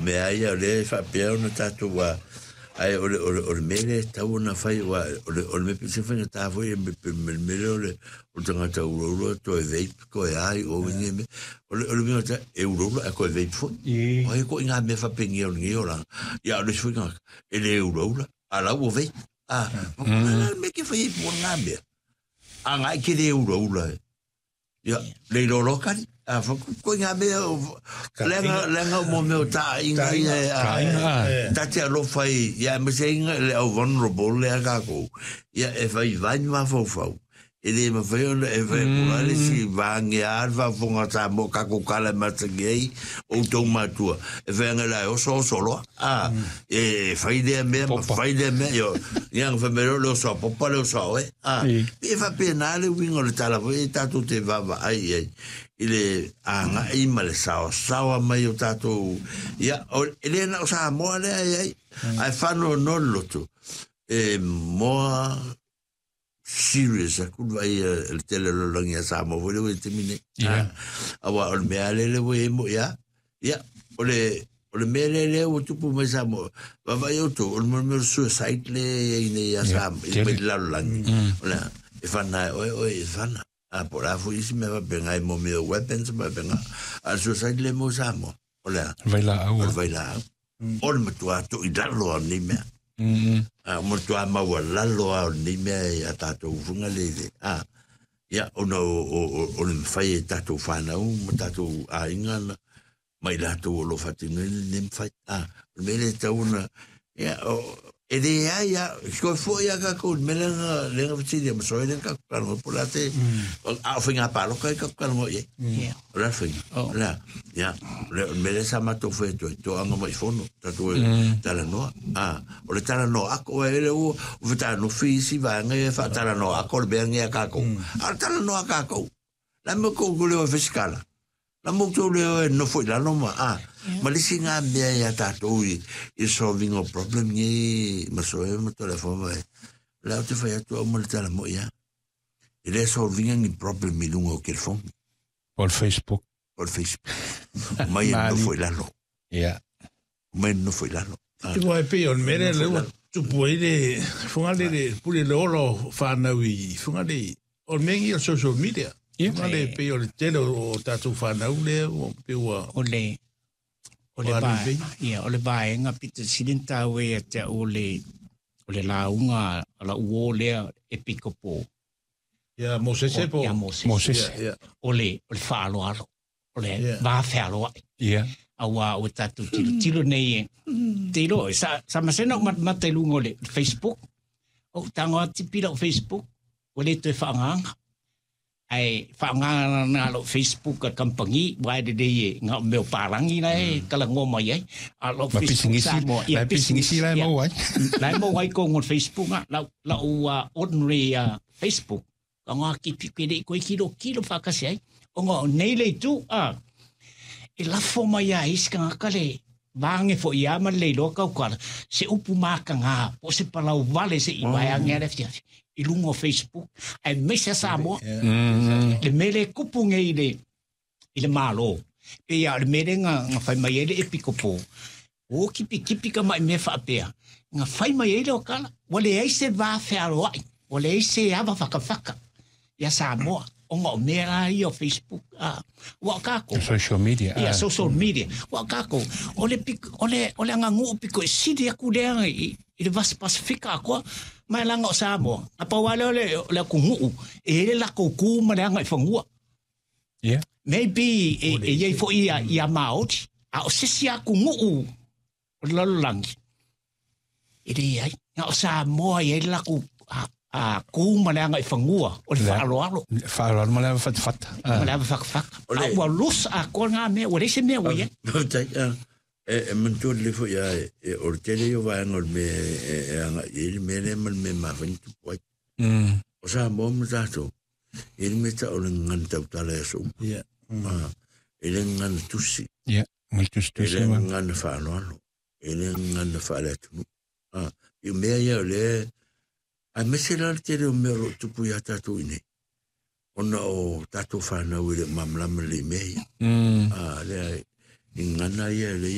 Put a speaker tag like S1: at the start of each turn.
S1: mea ia o lea e faapea ona tatou a ae o le o le o le mea lea e tatau ona fai aua o le o le mea pito sili faigata foi le mea lea o le o le tagata ulaula toe vape toe a i o nei mea. O le o le mea e ulaula ae toe vape foi. O ai ituaiga mea faapenia o lenei olaga. Ia a o le isi foi tagata e le ulaula a la ua vape. A, o le mea e te fai ai po o lena mea. A na e te le ulaula e. Ia, le iloa loa kali. A, ituaiga mea, leaga, leaga mo mea o taaiga ia e, a, ta te alofa i, ia, aemaise ai le au vulnerable lea kākou. Ia, e vaivai ni mafaufau. E le mafai ona e fai atu la le isi vaegea le faafofoga a Samoa kākou tala e masani ai outou matua e fai ane la e oso oso loa a e fai lea mea ma fai lea mea io ia na fai mai loa le oso a Popa le oso a oe a pei e faapena le uiga o le tala foi e tatou te vaavaai i ai i le agai ma le saosaoa mai o tatou ia e le na o Samoa lea e ai ae faanoanoa le loto e moa serious aku le vaai a le tele o le lalolagi a Samoa foi lea ua i le taimi nei.
S2: Yeah.
S1: Aua o le mea lea lea ua i ai moi a. Ia, o le, o le mea lea lea ua tupu mai Samoa, vaavaai outou, o le mea o le suicide lea e i ai nei ia Samoa, i mai le lalolagi. O le a, e whana e oe, oe e whana. A, po o le a foi isi mea faapena i mo mea o weapons ma faapena. A o le suicide lea mo Samoa, o le a?
S2: Vailaau.
S1: O le vailaau. O le matua toilalo lava o lenei mea. A, o le matua maualalo lava o lenei mea i a tatou usuga le le. A, ia, ona o, o, o, o le mafai e tatou whanau ma tatou aiga na, ma i latou o lo o faatinoina lenei mafai. A, o le mea lea e tatau ona, ia, o, e leai a, toe foi a kākou i le mea lea na, lea na fesili ai ma Soe lea na tatou talanoa po o le a te, a o faiga palota ai tatou talanoa i ai. O le a le faiga? O le a? Ia, o le mea lea sa matou fai atu ai, toaga mai fono, tatou e talanoa. A, o le talanoa ako, e le ua fetanofi isi vaega ia e faatalanoa ako le mea lenei a kākou. A o le talanoa a kākou. La me kou ko leo e fisikala. La mo tou leo e nofo i lalo ma a. Ma le isi ngā mea ia tātou i, i solving o problem ni ma soe ma telefon ma e. La o te whai atu au ma le tala mo ia. E le solving ni problem i lunga o telefon.
S2: O le Facebook.
S1: O le Facebook. Mai e nofo i lalo.
S2: Yeah.
S1: Mai e nofo i lalo.
S3: Te wai pei o le mea lea ua tupu ai le whangale le pule le ola o whānau i whangale o le mea ngi o social media.
S2: Yeah.
S3: Whangale pei o le tele o tātou whānau lea o pe ua
S4: O le o le
S3: Ua
S4: va
S3: alu
S4: ia o le vaega pito sili ona taua ia te au o le o le lauga a lau uo lea e pikopo
S3: Ia Mosese po.
S4: Ia Mosese.
S2: Mosese.
S3: Ia, ia.
S4: O le o le faaaloalo o le
S3: Yeah.
S4: va fealoai.
S2: Yeah.
S4: Auā ua tatou tilotilo nei e te iloa sa, sa masena ou matamata i luga o le Facebook. Ou tago atu tipi lau Facebook, ua le toe faagaga. Ae faagaga na lou Facebook a kampangi, aua e lelei e na o mea o palagi la e talanoa mai ai. A o lau
S2: Ma
S4: Facebook
S2: pisinisi,
S4: Samoa, ia
S2: la e pisinisi la e maua ai.
S4: La e maua ai kogu o le Facebook a, lau, lau ordinary Facebook. Ona kipi ke lei koe kilo kilo whakasi ai. Ona o nei le itu, a, e lafo mai a isi kangaka le vaange fo ia ma le iloa kaukala, se upu mākangā, po se palau vale se i vaeange ale fiafi, i lunga o Facebook, ae maise a Samoa, le mea le kupu nei i le, i le Malo. Pei a o le mea lea na, na fai mai ai le Epikopo, o kipikipi ka mai mea faapea, na fai mai ai le okala, ua leai se va fealoai, ua leai se ava whakawhaka ia Samoa, ona o mea la ia o Facebook, a, ua o kākou.
S2: Social media.
S4: Ia, social media. Ua o kākou, o le, piko, o le, o le aganu'u piko e sili aku lea i, i le vasi Pasifika akoa, mai laga o Samoa. Na pau lava lea o le, o le atunuu, e i ai le latou ku ma le agaifanua.
S2: Yeah.
S4: Maybe e, e iai foi ia, ia Māori, a o se isi atunuu o le lalolagi, e leai. Na o Samoa e i ai le latou a, a kū ma le agaifanua o le faaaloalo.
S2: Faaaloalo ma le ava fatafata.
S4: Ma le ava fatafata. A ua loose atoa ngā mea, ua leai se mea ua i ai.
S1: Faafetai, a, e, e manatua lelei foi a, e, o le tele ia o vaega o le mea e, e, e agai i ai le mea lea ma le mea e mafai ona tupu ai. O Samoa ma tatou, E le mea tau o le gagana tautala i aso uma.
S3: Yeah.
S1: Ah, e le gagana tusi.
S2: Yeah, ngal tusi
S1: E
S2: tusi
S1: le
S2: ma.
S1: gagana faaaloalo. E le gagana faale-atunuu. Ah, i mea ia o lea, aemaise la le tele o mea o lo o tupu iā tatou i inei, ona o tatou fanau e le o malamalama lelei i mea ia. Ah, lea, i gagana ia lea